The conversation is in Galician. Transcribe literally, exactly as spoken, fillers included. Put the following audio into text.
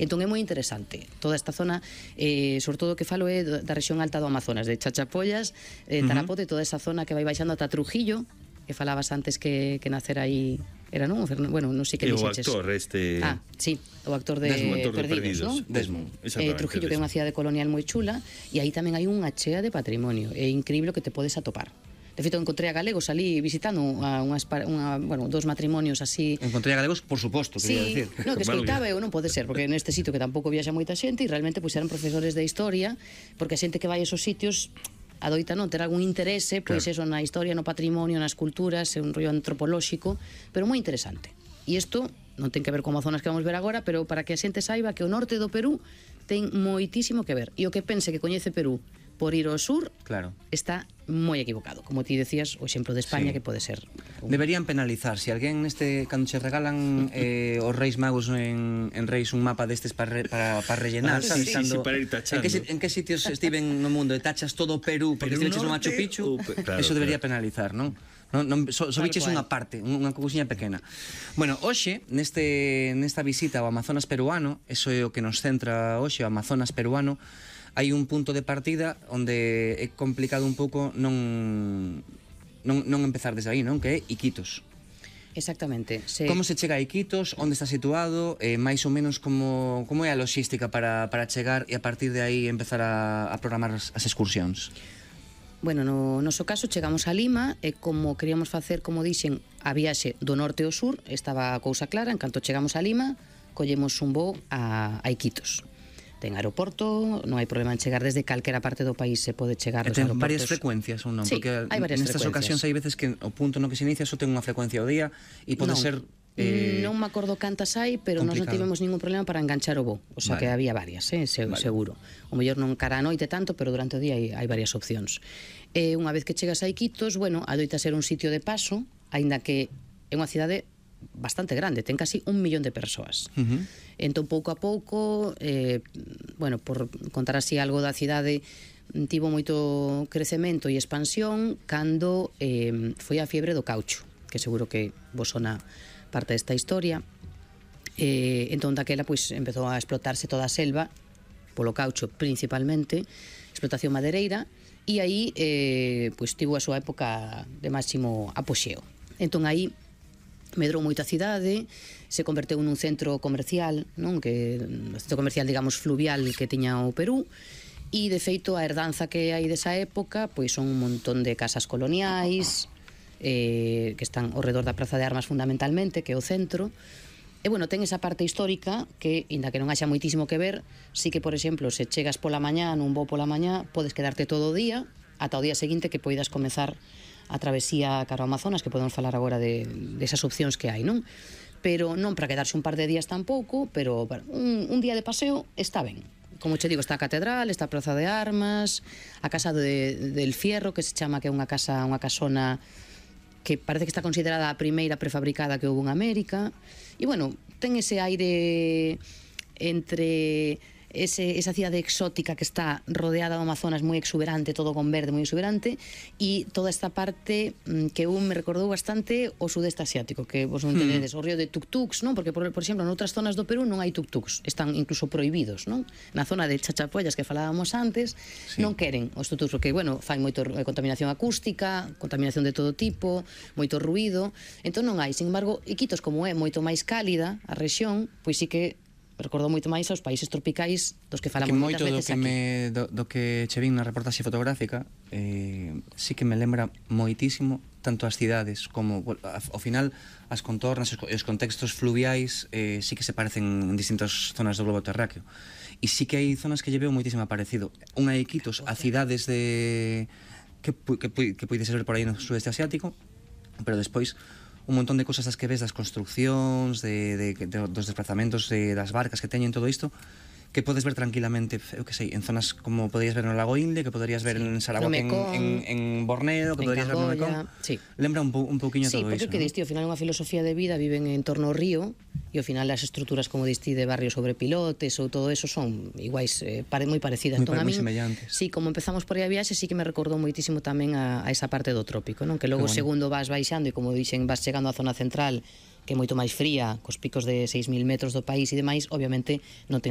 Entón é moi interesante toda esta zona, eh, sobre todo o que falo é da rexión alta do Amazonas, de Chachapollas, eh, Tarapote, toda esa zona que vai baixando ata Trujillo, que falabas antes que, que nacer aí era, non? Bueno, non sei que e o dixeches. actor este... Ah, sí, o actor de Desmond, actor de Perdidos, non? Desmond, eh, Trujillo, que é unha cidade colonial moi chula, e aí tamén hai unha chea de patrimonio, é increíble o que te podes atopar. De feito, encontrei a galegos ali visitando a unhas, unha, bueno, dos matrimonios así. Encontrei a galegos, por suposto, quería sí, decir. No, que escoitaba eu, non pode ser, porque neste sitio que tampouco viaxa moita xente, e realmente pois eran profesores de historia, porque a xente que vai a esos sitios adoita non ter algún interese, pois claro, eso na historia, no patrimonio, nas culturas, é un rollo antropolóxico, pero moi interesante. E isto non ten que ver con zonas que vamos ver agora, pero para que a xente saiba que o norte do Perú ten moitísimo que ver. E o que pense que coñece Perú por ir ao sur, claro, está moi equivocado. Como ti decías, o exemplo de España, sí, que pode ser un... Deberían penalizar. Si alguén neste, cando che regalan eh, os Reis Magos en, en Reis un mapa destes para, para, para rellenar, ah, sabes? Sí, Cando, sí, para ir tachando. En que, en que sitios estiven no mundo e tachas todo o Perú porque estiveches no Machu Picchu, uh, claro, eso debería claro, penalizar, non? Non, non, so, so biches unha parte, unha cousiña pequena. Bueno, hoxe, neste, nesta visita ao Amazonas peruano, eso é o que nos centra hoxe, o Amazonas peruano, hai un punto de partida onde é complicado un pouco non, non, non empezar desde aí, non? Que é Iquitos. Exactamente. Se... Como se chega a Iquitos? Onde está situado? Eh, máis ou menos como, como é a logística para, para chegar e a partir de aí empezar a, a programar as, as excursións? Bueno, no noso caso chegamos a Lima e como queríamos facer, como dixen, a viaxe do norte ao sur, estaba a cousa clara. En canto chegamos a Lima, collemos un voo a, a Iquitos. Ten aeroporto, non hai problema en chegar desde calquera parte do país, se pode chegar dos aeroportos. Ten varias frecuencias ou non? Sí, porque hai varias nestas frecuencias. ocasións hai veces que o punto no que se inicia só ten unha frecuencia ao día e pode non. ser... Eh, non me acordo cantas hai, pero nós non tivemos ningún problema para enganchar o voo. O sea, vale, que había varias, eh, se, vale, seguro. O mellor non cara a noite tanto, pero durante o día hai, hai varias opcións. E unha vez que chegas a Iquitos, bueno, adoita ser un sitio de paso, aínda que é unha cidade bastante grande, ten casi un millón de persoas. Uh-huh. Entón, pouco a pouco, eh, bueno, por contar así algo da cidade, tivo moito crecemento e expansión cando eh, foi a fiebre do caucho, que seguro que vos sona parte desta historia. Eh, entón, daquela, pois, empezou a explotarse toda a selva, polo caucho principalmente, explotación madereira, e aí, eh, pois, tivo a súa época de máximo apoxeo. Entón, aí, medrou moita cidade, se converteu nun centro comercial, non? Que un centro comercial, digamos, fluvial que tiña o Perú, e de feito a herdanza que hai desa época pois son un montón de casas coloniais eh, que están ao redor da Praza de Armas fundamentalmente, que é o centro. E bueno, ten esa parte histórica que, inda que non haxa moitísimo que ver, sí que, por exemplo, se chegas pola mañá, nun voo pola mañá, podes quedarte todo o día ata o día seguinte que poidas comezar a travesía cara ao Amazonas, que podemos falar agora de, de esas opcións que hai, non? Pero non para quedarse un par de días tampouco, pero un, un día de paseo está ben. Como che digo, está a Catedral, está a Praza de Armas, a Casa de, del Fierro, que se chama, que é unha casa, unha casona que parece que está considerada a primeira prefabricada que houve en América. E bueno, ten ese aire entre... Ese, esa cidade exótica que está rodeada do Amazonas, moi exuberante, todo con verde, moi exuberante, e toda esta parte que eu me recordou bastante o sudeste asiático, que vos non tenedes, o río de tuk-tuks, non? Porque, por, por exemplo, noutras zonas do Perú non hai tuk-tuks, están incluso prohibidos, non? Na zona de Chachapollas que falábamos antes, sí, non queren os tuk-tuks, porque, bueno, fai moito contaminación acústica, contaminación de todo tipo, moito ruído, entón non hai. Sin embargo, Iquitos, como é moito máis cálida a rexión, pois sí que recordou moito máis aos países tropicais dos que falamos que moitas veces do que aquí. Me, do, do que che vin na reportaxe fotográfica eh, sí que me lembra moitísimo tanto as cidades como ao final as contornas e os contextos fluviais eh, sí que se parecen en distintas zonas do globo terráqueo e sí que hai zonas que lle veo moitísimo parecido. Unha é Iquitos, a cidades de que, que, que poides ver por aí no sudeste asiático, pero despois un montón de cosas das que ves, das construccións, de, de, de, dos desplazamentos de, das barcas que teñen todo isto, que podes ver tranquilamente, eu que sei, en zonas como poderías ver no Lago Inle, que poderías ver sí, en Sarawak, en, en, en Borneo, que en poderías Camboya, ver no Mekong. Sí. Lembra un, po, un pouquiño sí, todo iso. Sí, porque que diste, ao final é unha filosofía de vida, viven en torno ao río, e ao final as estruturas, como diste, de barrios sobre pilotes ou todo eso son iguais, eh, pare, moi parecidas. Moi, entón, moi a min, semellantes. Sí, como empezamos por aí a viaxe, sí que me recordou moitísimo tamén a, a esa parte do trópico, non? Que logo bueno, segundo vas baixando e como dixen, vas chegando á zona central, que é moito máis fría, cos picos de seis mil metros do país e demais, obviamente non ten